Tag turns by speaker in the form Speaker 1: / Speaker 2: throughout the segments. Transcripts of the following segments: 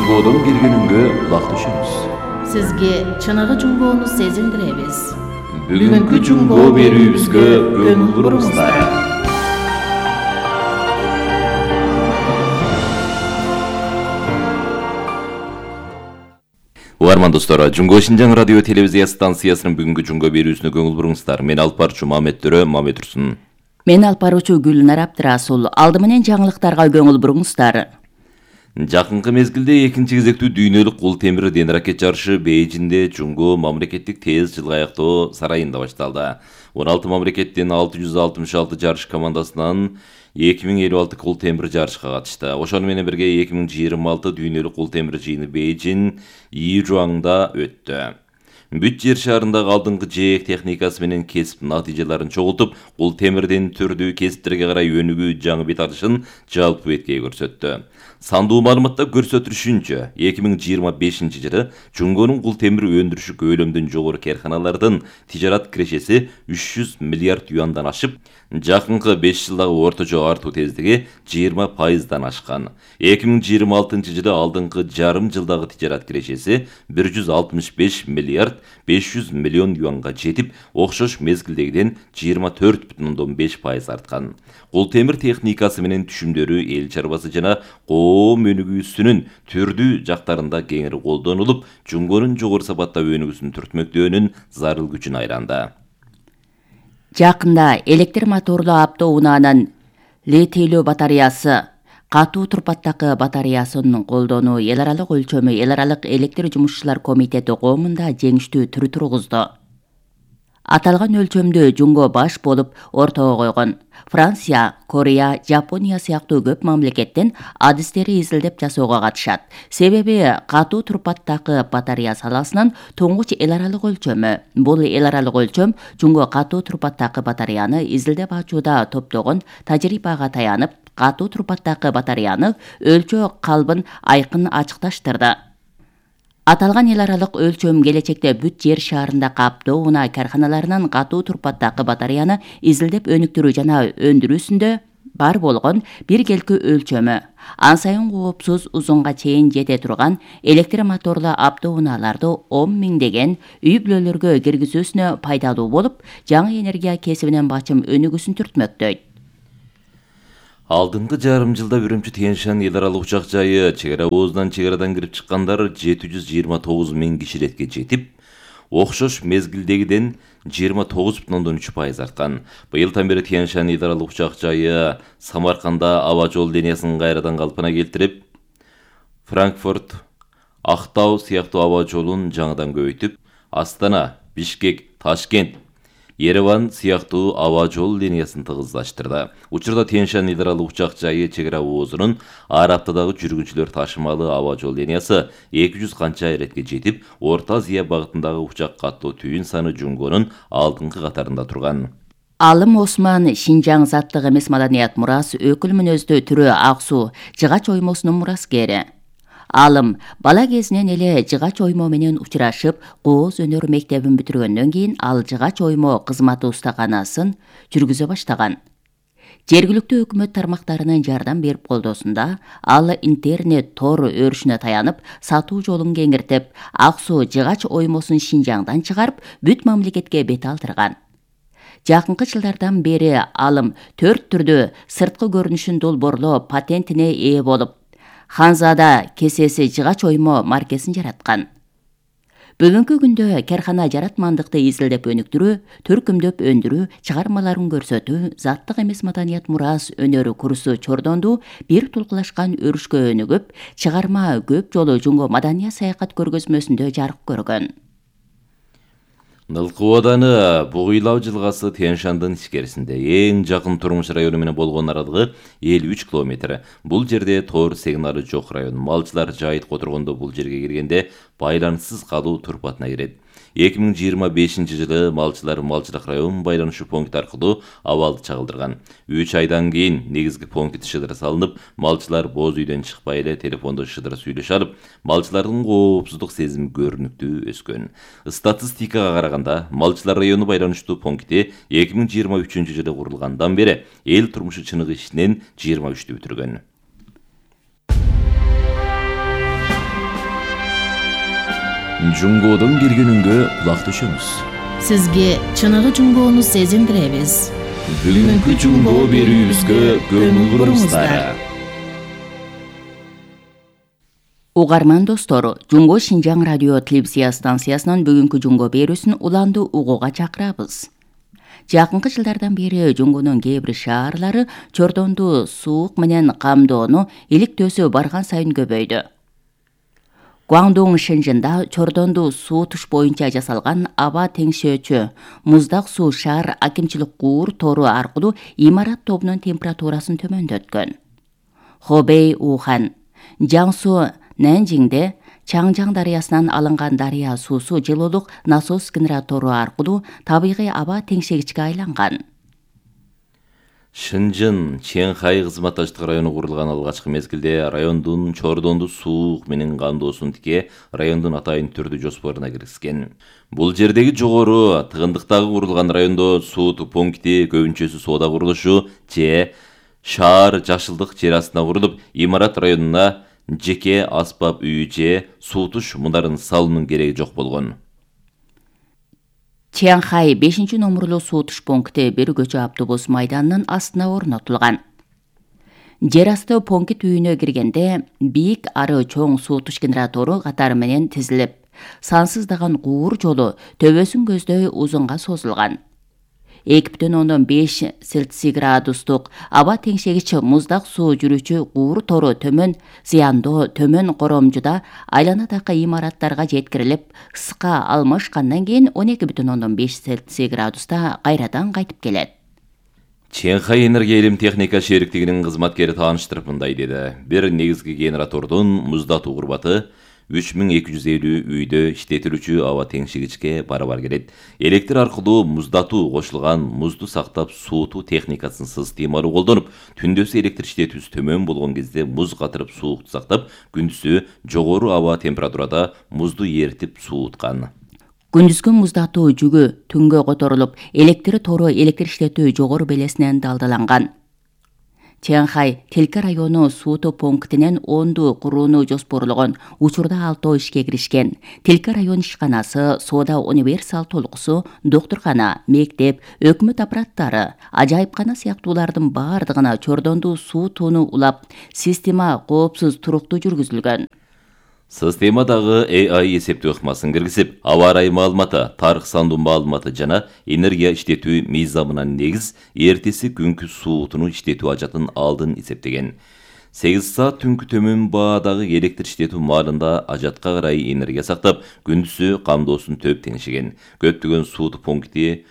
Speaker 1: Жунгодон келгениңге кулак түшөбүз.
Speaker 2: Сизге чыныгы жунгоону сезиндиребиз.
Speaker 1: Бүгүнкү жунгоо берүүбүзгө көңүл буруңуздар. Угарман достор, Жунгоо Шинжаң радио телевизия станциясынын бүгүнкү жунгоо берүүсүнө көңүл буруңуздар. Мен алып барчу Мамет Төрө, Мамет Турсун.
Speaker 3: Мен алып баруучу Гүлнар Абдрасул. Алды менен жаңылыктарга көңүл буруңуздар.
Speaker 1: Жакынкы мезгилде экинчи кезектүү дүйнөлүк кол темир ден ракет жарышы Бейжинде Жунгоо мамлекеттик тез жылга аяктоо сарайында башталды. 16 мамлекеттен 666 жарыш командасынан 2056 кол темир жарышка катышты. Ошону менен бирге 2026 дүйнөлүк кол темир жыйыны Бейжин Йижуаңда өттү. Бүт жер шаарындагы алдыңкы жээк техникасы менен кесип натыйжаларын чогултуп, кол темирден түрдүү кесиптерге карай өнүгүү жаңы бет алышын жалпы беткей көрсөттү. Сандуу маалыматта көрсөтүлүшүнчө, 2025 жылы Жунгонун кол темир өндүрүшү көлөмдөн жогору карканалардын тижарат кирешеси 300 миллиард юандан ашып, жакынкы 5 жылдагы орточо артуу тездиги 20%дан ашкан. 2026 жылы алдыңкы жарым жылдагы тижарат кирешеси 165 миллиард 500 миллион юанга жетип, окшош мезгилдегиден 24,5% арткан. Кол темир техникасы менен түшүмдөрү эл чарбасы жана коом өнүгүүсүнүн түрдүү жактарында кеңири колдонулуп, Жунгонун жогору сапатта өнүгүүсүн түртмөктөөнүн зарыл күчүн айранды.
Speaker 3: Жакында электр моторлуу автоунаанын литийлүү батареясы катуу турпаттагы батареясын колдонуу эл аралык өлчөмү эл аралык электр жумушчулар комитети коомунда жеңиштүү түрү тургузду. Аталган өлчөмдү Жунгоо баш болуп ортого койгон. Франция, Корея, Жапония сыяктуу көп мамлекеттен адистери изилдеп жасоого катышат. Себеби катуу турпаттагы батарея саласынын туңгуч эл аралык өлчөмү. Бул эл аралык өлчөм Жунгоо катуу турпаттагы батареяны изилдеп ачууда топтогон тажрыйбага таянып, катуу турпаттагы батареяны өлчөө калбын айкын ачыкташтырды. Аталган эл аралык өлчөм келечекте бүт жер шаарындагы автоунаа карканаларынын катуу турпаттагы батареяны изилдеп өнүктүрүү жана өндүрүүсүндө бар болгон биргелки өлчөмү. Ан сайын коопсуз узунга чейин жете турган электр моторлуу автоунааларды 10 миңдеген үй бүлөлөргө киргизүүсүнө пайдалуу болуп, жаңы энергия кесибинен бачым өнүгүүсүн түртмөктөйт.
Speaker 1: Алдыңкы жарым жылда Үрүмчү Тянь-Шань эл аралык учак жайы чек ара чек-арадан кирип чыккандар 729 миң киширетке жетип, окшош мезгилдегиден 29,3% арткан. Быйылдан бери Тянь-Шань эл аралык учак жайы Самарканда аба жол линиясын кайрадан калпына келтирип, Франкфурт, Актау сыяктуу аба жолун жаңыдан көбөйтүп, Астана, Бишкек, Ташкент, Ереван сыяктуу аба жол линиясын тыгыздаштырды. Учурда Тянь-Шань эл аралык учак жайы чек ара оозунун ар аптадагы жүргүнчүлөр ташымалы аба жол линиясы 200 канча эретке жетип, Орто Азия багытындагы учак каттоо түйүн саны Жунгонун алдыңкы катарында турган.
Speaker 3: Алым Осман Шинжаң заттык эмес маданият мурас өкүл мүнөздүү түрү Аксу жыгач оймосунун мураскери. Алым бала кезинен эле жыгач оймо менен учурашып, кооз өнөр мектебин бүтүргөндөн кийин ал жыгач оймо кызматы устаканасын жүргүзө баштаган. Жергиликтүү өкмөт тармактарынын жардам берип колдоосунда ал интернет тор өрүшүнө таянып, сатуу жолун кеңиртип, Аксу жыгач оймосун Шинжаңдан чыгарып, бүт мамлекетке бет алдырган. Жакынкы жылдардан бери Алым 4 түрдүү сырткы көрүнүшүн долбоорлоо патентине ээ болуп, Ханзада кесеси жыгач оймо маркесин жараткан. Бүгүнкү күндө кархана жаратмандыкты изилдеп өнүктүрүү, төркүмдөп өндүрүү, чыгармаларын көрсөтүү, заттык эмес маданият мурас өнөрү курсу чордондуу бир тулкулашкан өрүшкө өнүгүп, чыгарма көп жолу Жунгоо маданият саякат көргөзмөсүндө жарык көргөн.
Speaker 1: Нылкы ооданы Бугуйлау жылгасы Тянь-Шандын ичкерисинде эң жакын турмуш району менен болгон аралыгы 53 километр. Бул жерде тоор сигналы жок район. Малчылар жайыт которгондо бул жерге киргенде байланыссыз калуу турпатына кирет. 2025 жылы малчылар малчылык район байланышы пункт аркылуу абалды чагылдырган. 3 айдан кийин негизги пункт шыдыр салынып, малчылар боз үйдөн чыкпай эле телефондо шыдыр сүйлөшө алып, малчылардын коопсуздук сезими көрүнүктүү өскөн. Статистикага караганда, малчылар району байланыштуу пункти 2023 жылы курулгандан бери эл турмушу чыныгы ишинен 23-тү бүтүргөн. Жунгодон келген үнгө кулак төшөмүз.
Speaker 2: Сизге чыныгы жунгоону сезиндиребиз.
Speaker 1: Бүгүнкү жунгоо берүүбүзгө көңүл буруңуздар.
Speaker 3: Угарман достор, Жунго Шинжаң радио телевизия станциясынын бүгүнкү жунгоо берүүсүн уланды угууга чакырабыз. Жакынкы жылдардан бери Жунгонун кээ бир шаарлары чордонду суук менен камдоону иликтөөсү барган сайын көбөйдү. Гуандун Шэньчжэнда чордонду суутуш боюнча жасалган аба теңшөөчү муздак суу шаар акимчилик куур тору аркылуу имарат тобунун температурасын төмөндөткөн. Хобей, Ухан, Жаңсу, Нэнжиңде Чаңжаң дарыясынан алынган дарыя суусу жылуулук насос генератору аркылуу табигый аба теңшегичке айланган.
Speaker 1: Шэньчжэн Чэнхай кызматташтык району курулган алгачкы мезгилде райондун чордонду суук менен камдоосун тике райондун атайын түрдүү жоспоруна киргизген. Бул жердеги жогору тыгындыктагы курулган райондо суутуу пункти көбүнчөсү соода курулушу же шаар жашылдык жер астына курулуп, имарат районуна жеке аспап үй же суутуш мундарын салуунун кереги жок болгон.
Speaker 3: Чэнхай 5-номурлуу суутуш пункти бир көчө автобус майданынын астына орнотулган. Жер асты пункт үйүнө киргенде бийик ары чоң суутуш генератору катары менен тизилип, сансыздаган куур жолу төбөсүн көздөй узунга созулган. 2,5 Цельсий градустук аба теңшегич муздак суу жүрүүчү куур тору төмөн зыяндоо төмөн коромжуда айланадагы имараттарга жеткирилип, ысыкка алмашкандан кийин 12,5 Цельсий градуста кайрадан кайтып келет.
Speaker 1: Чэнхай энергия илим техника шериктигинин кызматкери тааныштырып мындай деди. Бир негизги генератордун муздатуу курбаты 3250 үйдө иштетилүүчү аба теңшегичке барабар келет. Электр аркылуу муздатуу кошулган музду сактап суутуу техникасын системалуу колдонуп, түндөсү электр иштетүүсү төмөн болгон кезде муз катырып суукту сактап, күндүзү жогору аба температурада музду эритип сууткан.
Speaker 3: Күндүзгү муздатуу жүгү түнгө которулуп, электр тору электр иштетүү жогору белесинен далдаланган. Чэнхай Телка району суутуу пунктинен 10ду курууну жоспорлогон, учурда 6 ишке киришкен. Телка район ишканасы, соода универсал толкусу, доктуркана, мектеп, өкмөт аппараттары, ажайыпкана сыяктуулардын баардыгына чордонду суутууну улап, система коопсуз туруктуу жүргүзүлгөн.
Speaker 1: Системадагы AI эсептөө ыкмасын киргизип, аба ырайы маалыматы, тарых сандуу маалыматы жана энергия иштетүү мыйзамына негиз эртеси күнкү суутуну иштетүү ажатын алдын эсептеген. 8 саат түнкү төмөн баадагы электр иштетүү маалында ажатка карай энергия сактап, күндүзү камдоосун төп теңшеген. Көптөгөн суутуу пункти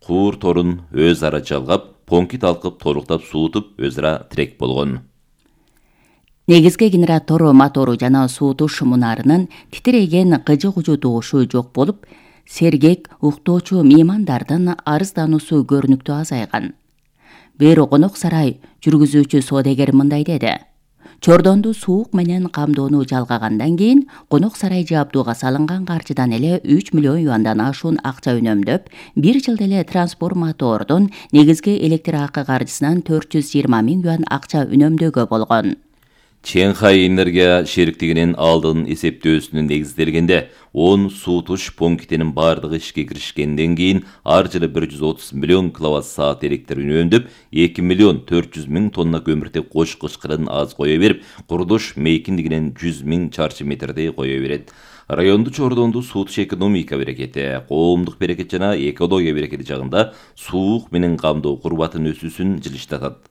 Speaker 1: куур торун өз ара жалгап, пункт алкып толуктап суутуп өз ара тирек болгон.
Speaker 3: Негизги генератор мотору жана суутуш мунарынын титиреген кыжы-кужу доошу жок болуп, сергек уктоочу меймандардын арыздануусу көрүнүктүү азайган. Бир конок сарай жүргүзүүчү соодагер мындай деди. Чордонду суук менен камдоону жалгагандан кийин конок сарай жабдууга салынган каржыдан эле 3 миллион юандан ашуун акча үнөмдөп, бир жылда эле трансформатордун негизги электр акы каржысынан 420 000 юан акча үнөмдөөгө болгон.
Speaker 1: Чэнхай энергия шериктигинин алдын эсептөөсүнүн негизделгенде 10 суутуш пунктинин бардыгы ишке киришкенден кийин ар жылы 130 миллион киловатт-саат электр үнөмдөп, 2 миллион 400 000 тонна көмүртек кош кышкырын аз кое берип, курулуш мейкиндигинен 100 000 чарчы метрдей кое берет. Районду чордонду суутуш экономика берекети, коомдук берекет жана экология берекети жагында суук менен камдоо курбатын өсүүсүн жылыштатат.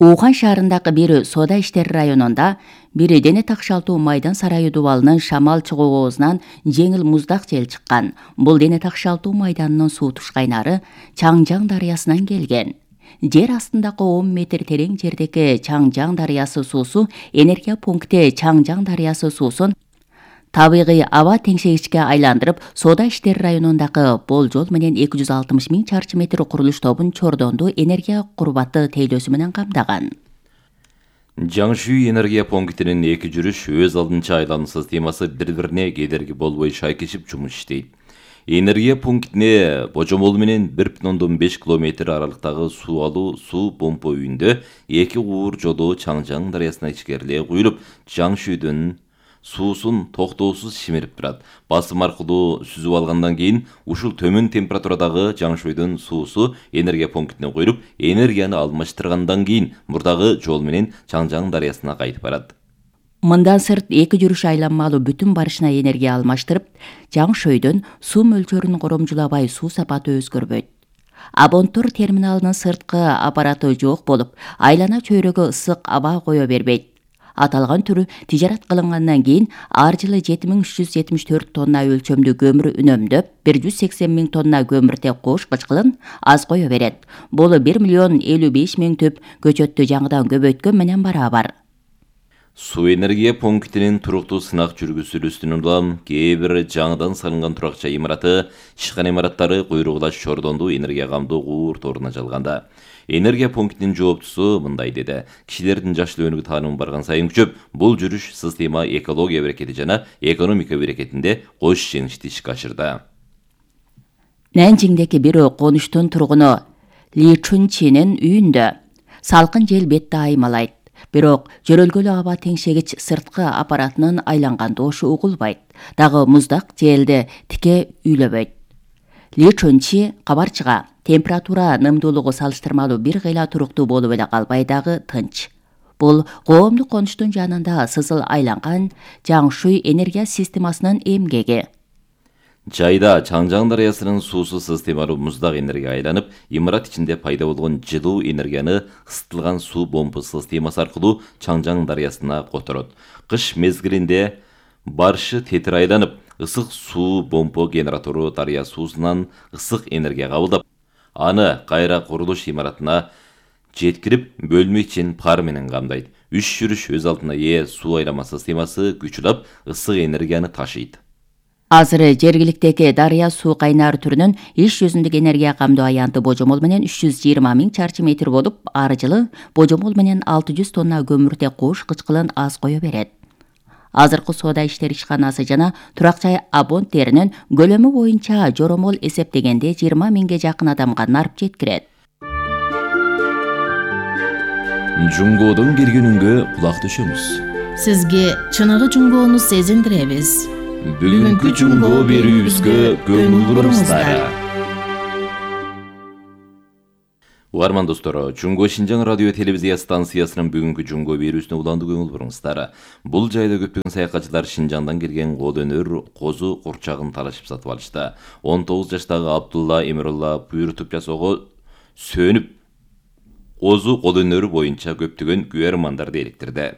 Speaker 3: Ухан шаарындагы бир соода иштери районунда бир дене такшалтуу майдан сарайы дубалынын шамал чыгуусунан жеңил муздак жел чыккан. Бул дене такшалтуу майданынын суутуш кайнары Чаңжаң дарыясынан келген. Жер астындагы 10 метр терең жердеги Чаңжаң дарыясы суусу энергия пункти Чаңжаң дарыясы суусун табигый аба теңшегичке айландырып, соода иштери районундагы болжол менен 260 000 чарчы метр курулуш тобун чордонду энергия курбаты тейлөөсү менен камдаган.
Speaker 1: Жаңшүй энергия пунктинин эки жүрүш өз алдынча айлануу системасы бири-бирине кедерги болбой шайкешип жумуш иштейт. Энергия пунктине божомол менен 1,5 километр аралыктагы суу алуу суу помпа үйүндө 2 куур жолу Чаңжаң дарыясына ичкериле куюлуп, Жаңшүйдөн суусун токтоосуз шимирип турат. Басым аркылуу сүзүп алгандан кийин ушул төмөн температурадагы Жаңшойдун суусу энергия пунктине куюлуп, энергияны алмаштыргандан кийин мурдагы жол менен Чаңжаң дарыясына кайтып барат.
Speaker 3: Мындан сырт 2 жүрүш айланмалуу бүтүн барышына энергия алмаштырып, Жаңшойдон суу мөлчөрүн коромжулабай суу сапаты өзгөрбөйт. Абонтур терминалынын сырткы аппараты жок болуп, айлана чөйрөгө ысык аба кое бербейт. Аталган түрү тижарат кылынгандан кийин ар жылы 7374 тонна өлчөмдүү көмүр үнөмдөп, 180 000 тонна көмүртек кош кычкылын аз кое берет. Бул 1 миллион 55 000 түп көчөттү жаңыдан көбөйткөн менен барабар.
Speaker 1: Суу энергия пунктинин туруктуу сынак жүргүзүлүүсүнөн улам кээ бир жаңыдан салынган туракча имараты, ишкана имараттары куйругулаш чордондуу энергия камдоо куур торуна жалганда. Энергия пунктинин жооптусу мындай деди: кишилердин жашыл өнүгүү таанымы барган сайын күчөп, бул жүрүш система экология берекети жана экономика берекетинде кош жеңишти ишке ашырды.
Speaker 3: Нанжиңдеги бир конуштун тургуну Ли Чунчинин үйүндө салкын жел бетти аймалайт. Бирок жөрөлгөлүү аба теңшегич сырткы аппаратынын айланган дошу угулбайт. Дагы муздак желди тике үйлөбөйт. Ли Чунчи кабарчыга температура нымдуулугу салыштырмалуу бир кыйла туруктуу болуп эле калбай дагы тынч. Бул коомдук конуштун жанында сызыл айланган Жаңшуй энергия системасынын эмгеги.
Speaker 1: Жайда Чаңжаң дарыясынын суусу системалуу муздак энергия айланып, имарат ичинде пайда болгон жылуу энергияны ысытылган суу помпа системасы аркылуу Чаңжаң дарыясына которот. Кыш мезгилинде барышы тетир айланып, ысык суу помпа генератору дарыя суусунан ысык энергия кабылдап, аны кайра курулуш имаратына жеткирип, бөлмө ичин пар менен камдайт. 3 жүрүш өз алдына ээ суу айлама системасы күчүлап, ысык энергияны ташыйт.
Speaker 3: Азыр жергиликтеги дарыя суу кайнар түрүнүн иш жүзүндөгү энергия камдоо аянты божомол менен 320 000 чарчы метр болуп, ар жылы божомол менен 600 тонна көмүртек кош кычкылын аз кое берет. Азыркы соода иштери ишканасы жана туракча абонттеринин көлөмү боюнча жоромол эсептегенде 20 000ге жакын адамга нарп жеткирет.
Speaker 1: Жуңгоодон келгенүнгө кулак төшөңүз.
Speaker 2: Сизге чыныгы жуңгоону сезиндиребиз.
Speaker 1: Бүгүнкү жуңгоо берүүбүзгө көңүл буруңуздар. Угарман достор, Жуңго Шинжаң радио телевизия станциясынын бүгүнкү жуңгоо берүүсүнө уланды көңүл буруңуздар. Бул жайда көптөгөн саякатчылар Шинжаңдан келген кол өнөр козу курчагын талашып сатып алышты. 19 жаштагы Абдулла Эмирулла буйрутуп жасоого сөнүп, козу кол өнөрү боюнча көптөгөн күбөрмандарды электирди.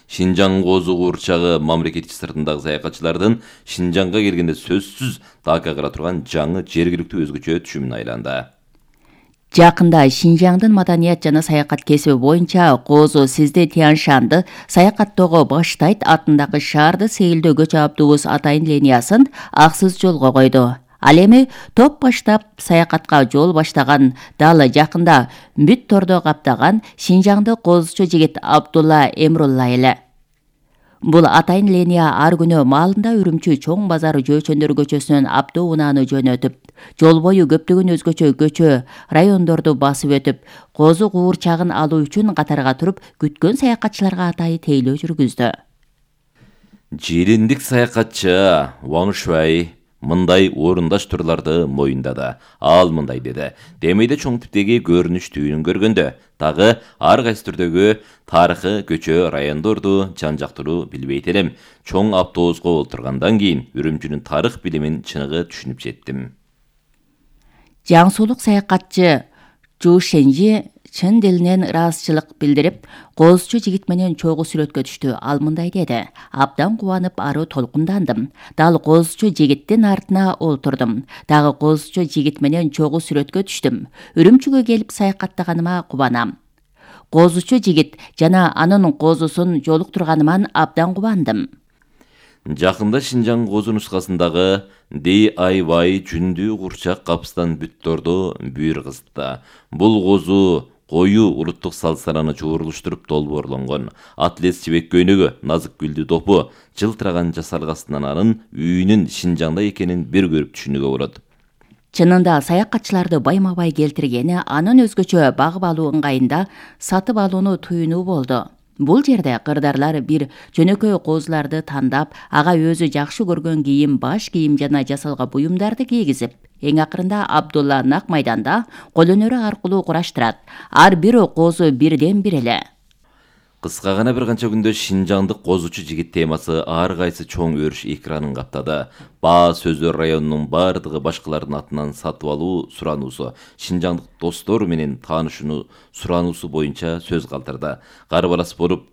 Speaker 1: Шинжаң козу курчагы мамлекет сыртындагы саякатчылардын Шинжаңга келгенде сөзсүз такка кыра турган жаңы жергиликтүү өзгөчө түшүмүн айланды.
Speaker 3: Жакында Шинжаңдын маданият жана саякат кесиби боюнча Козу Сизди Тяншанды саякаттоого баштайт атындагы шаарды сейилдөөгө жааптуубуз атайын линиясын аксыз жолго койду. Ал эми топ баштап саякатка жол баштаган, далы жакында бүт тордо каптаган Шинжаңды козучу жигит Абдулла Эмирулла эле. Бул атайын линия ар күнү маалында Үрүмчү чоң базары жөөчөндөр көчөсүнөн автоунааны жөнөтүп, жол бою көптөгөн өзгөчө көчө, райондорду басып өтүп, козу куурчагын алуу үчүн катарга туруп, күткөн саякатчыларга атайын тейлөө жүргүздү.
Speaker 1: Жириндик саякатчы Ван Шуай мындай орундаш турларды моюндады. Ал мындай деди: демейде чоң типтеги көрүнүш түйүнүн көргөндө, дагы ар кайсы түрдөгү тарыхы көчө райондорду жан жактыруу билбейт элем. Чоң автобуска олтургандан кийин Үрүмчүнүн тарых билимин чыныгы түшүнүп жеттим.
Speaker 3: Жаңсуулук саякатчы Жу Шенжи чын дилинен ыраазычылык билдирип, козучу жигит менен чогуу сүрөткө түштү. Ал мындай деди: абдан кубанып, ары толкундандым. Дал козучу жигиттин артына олтурдум. Дагы козучу жигит менен чогуу сүрөткө түштүм. Үрүмчүгө келип саякаттаганыма кубанам. Козучу жигит жана анын козусун жолуктурганыман абдан кубандым.
Speaker 1: Жакында Шинжаң козу нускасындагы DIY жүндүү курчак капыстан бүтторду бүйүр кызытты. Бул козу кою улуттук салт-сананы чогулуштуруп долбоорлонгон. Атлес жибек көйнөгү, назык гүлдүү допу, жылтыраган жасалгасынан анын үйүнүн Шинжаңда экенин бир көрүп түшүнүүгө болот.
Speaker 3: Чынында саякатчыларды байма-бай келтиргени анын өзгөчө багып алуу ыңгайында сатып алууну туюнуу болду. Бул жерде кырдарлар бир жөнөкөй козуларды тандап, ага өзү жакшы көргөн кийим, баш кийим жана жасалга буюмдарды кийгизип, эң акырында Абдулла нак майданда кол өнөрү аркылуу кураштырат. Ар бир козу бирден бир эле.
Speaker 1: Кыска гана бир канча күндө Шинжаңдык козучу жигит темасы ар кайсы чоң өрүш экранын каптады. Баа Сөздөр районунун бардыгы башкалардын атынан сатып алуу сурануусу, Шинжаңдык достор менен таанышууну сурануусу боюнча сөз калтырды. Кары балас болуп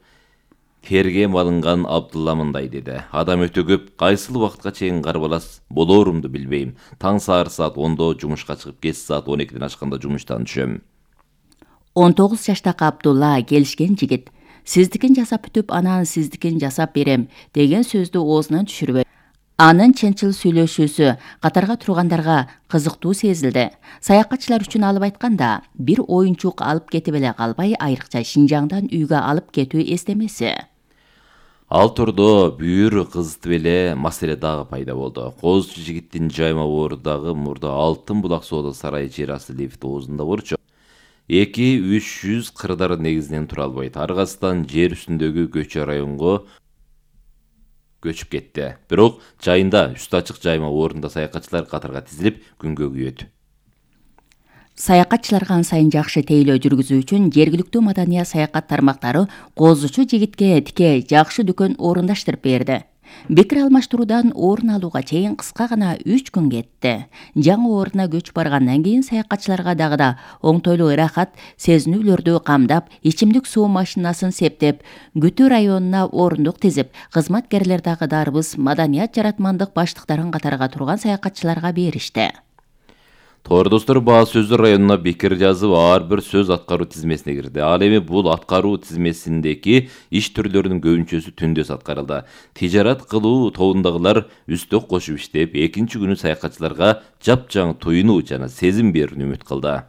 Speaker 1: тергем алынган Абдулла мындай деди. Адам өтө көп, кайсыл убакытка чейин кары балас болоорумду билбейм. Таң саар саат 10до жумушка чыгып, кеч саат 12ден ашканда жумуштан түшөм.
Speaker 3: 19 жаштагы Абдулла келишкен жигит. Сиздикин жасап бүтүп, анан сиздикин жасап берем деген сөздү оозунан түшүрбөй. Анын чынчыл сүйлөшүүсү катарга тургандарга кызыктуу сезилди. Саякатчылар үчүн алып айтканда, бир оюнчук алып кетип эле калбай, айрыкча Шинжаңдан үйгө алып кетүү эстемеси.
Speaker 1: Ал турдо бүйүр кызытып эле маселе дагы пайда болду. Козучу жигиттин жайма оорудагы мурда Алтын булак соода сарайы жер асты лифти оозунда болчу. 2-300 кырдар негизинен тура албайт. Аргасынан жер үстүндөгү көчө районго көчүп кетти. Бирок жайында үстү ачык жайма орунда саякатчылар катарга тизилип күнгө күйөт.
Speaker 3: Саякатчыларга сайын жакшы тейлөө жүргүзүү үчүн жергиликтүү маданият саякат тармактары козучу жигитке тике жакшы дүкөн орундаштырып берди. Бекир алмаштыруудан орун алууга чейин кыска гана 3 күн кетти. Жаңы орунна көчүп баргандан кийин саякатчыларга дагы да оңтойлуу ырахат сезинүүлөрдү камдап, ичимдик суу машинасын септеп, Күтүү районуна орундук тизип, кызматкерлер дагы дарбыз маданият жаратмандык баштыктарын катарга турган саякатчыларга беришти.
Speaker 1: Тоор достор, Баа Сөздөр районуна бекер жазып, ар бир сөз аткаруу тизмесине кирди. Ал эми бул аткаруу тизмесиндеги иш түрлөрүнүн көбүнчөсү түндөс аткарылды. Тижарат кылуу тобундагылар үстөк кошуп иштеп, экинчи күнү саякатчыларга жапжаң туюнуу жана сезим берүүнү үмүт кылды.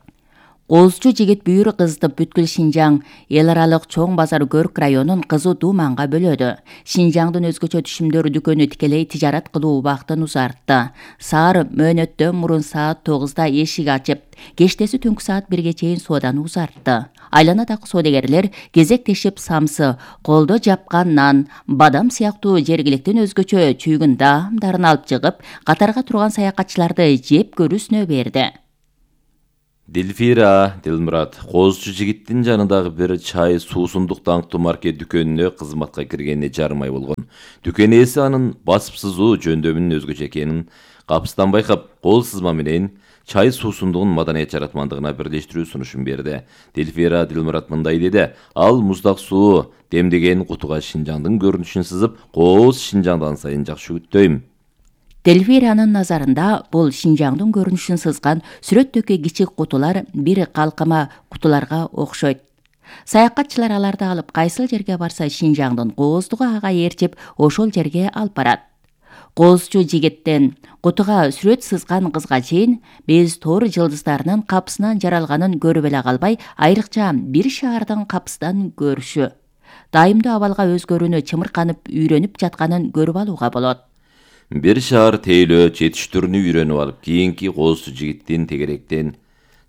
Speaker 3: Козучу жигит бүйүрү кызытып бүткүл Шинжаң эл аралык чоң базар Көрк районун кызуу дууманга бөлөдү. Шинжаңдын өзгөчө түшүмдөр дүкөнү тикелей тижарат кылуу убактын узартты. Саар мөөнөттөн мурун саат 9да эшик ачып, кештеси түнкү саат 1ге чейин сооданы узартты. Айланадагы соодагерлер кезектешип самсы, колдо жапкан нан, бадам сыяктуу жергиликтин өзгөчө чүйгүн даамдарын алып чыгып, катарга турган саякатчыларды жеп көрүүсүнө берди.
Speaker 1: Дилфира Дилмурат козучу жигиттин жанындагы бир чай суусундук даңктуу маркет дүкөнүнө кызматка киргенине жарым ай болгон. Дүкөн ээси анын басып сызуу жөндөмүнүн өзгөчө экенин капыстан байкап, кол сызма менен чай суусундугун маданият жаратмандыгына бирлештирүү сунушун берди. Дилфира Дилмурат мындай деди. Ал муздак суу демдеген кутуга Шинжаңдын көрүнүшүн сызып, кооз Шинжаңдан сайын жакшы күттөйм.
Speaker 3: Дельфиранын назарында бул Шинжаңдын көрүнүшүн сызган сүрөттөгү кичик кутулар бир калкыма кутуларга окшойт. Саякатчылар аларды алып кайсыл жерге барса Шинжаңдын кооздугу ага ээрчип, ошол жерге алып барат. Козучу жигиттен кутуга сүрөт сызган кызга чейин биз тоор жылдыздарынын капысынан жаралганын көрүп эле калбай, айрыкча бир шаардын капысынан көрүшү, дайымдуу абалга өзгөрүүнү чымырканып үйрөнүп жатканын көрүп алууга болот.
Speaker 1: Бир шаар тейлөө жетиштүүрүнү үйрөнүп алып, кийинки козучу жигиттин тегеректен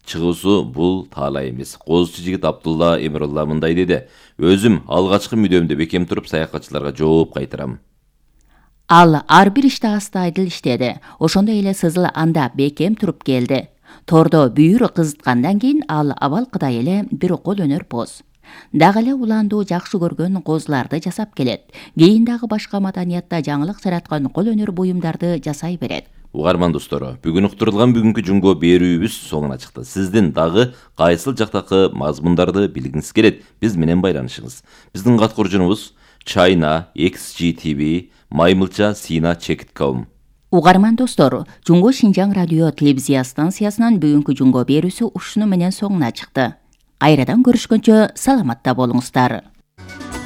Speaker 1: чыгуусу бул таалай эмес. Козучу жигит Абдулла Эмирулла мындай деди. Өзүм алгачкы мүдөмдө бекем туруп саякатчыларга жооп кайтарам.
Speaker 3: Ал ар бир иште астайдыл иштеди. Ошондой эле сызыл анда бекем туруп келди. Тордо бүйүр кызыткандан кийин ал абалкыдай эле бир кол өнөр поз. Дагы эле уландуу жакшы көргөн козуларды жасап келет. Кийин дагы башка маданиятта жаңылык жараткан кол өнөр буюмдарды жасай берет.
Speaker 1: Угарман достору, бүгүн уктурулган бүгүнкү жумго берүүбүз соңуна чыкты. Сиздин дагы кайсыл жактакы мазмундарды билгиңиз келет, биз менен байланышыңыз. Биздин кат куржунубуз china@xgtv@maymilcha.sina.com.
Speaker 3: Угарман достор, Жумго Шинжаң радио телевизия станциясынын бүгүнкү жумго берүүсү ушуну менен соңуна чыкты. Кайрадан көрүшкөнчө саламатта болуңуздар.